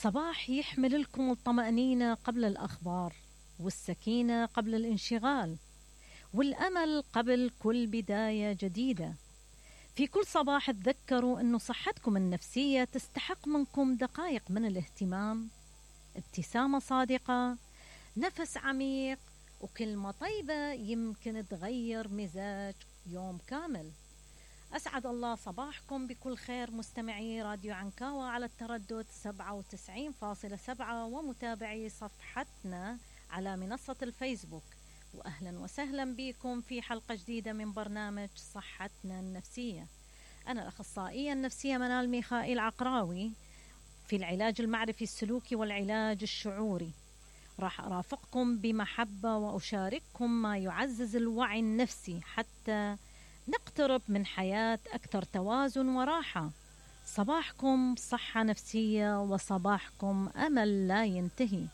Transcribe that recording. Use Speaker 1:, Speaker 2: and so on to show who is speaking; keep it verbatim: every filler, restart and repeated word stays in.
Speaker 1: صباح يحمل لكم الطمأنينة قبل الأخبار، والسكينة قبل الانشغال، والأمل قبل كل بداية جديدة. في كل صباح تذكروا أن صحتكم النفسية تستحق منكم دقائق من الاهتمام، ابتسامة صادقة، نفس عميق، وكلمة طيبة يمكن تغير مزاج يوم كامل. أسعد الله صباحكم بكل خير مستمعي راديو عنكاوة على التردد سبعة وتسعين فاصلة سبعة ومتابعي صفحتنا على منصة الفيسبوك، وأهلا وسهلا بكم في حلقة جديدة من برنامج صحتنا النفسية. أنا الأخصائية النفسية منال ميخائيل عقراوي في العلاج المعرفي السلوكي والعلاج الشعوري. راح أرافقكم بمحبة وأشارككم ما يعزز الوعي النفسي حتى نقترب من حياة أكثر توازن وراحة. صباحكم صحة نفسية وصباحكم أمل لا ينتهي.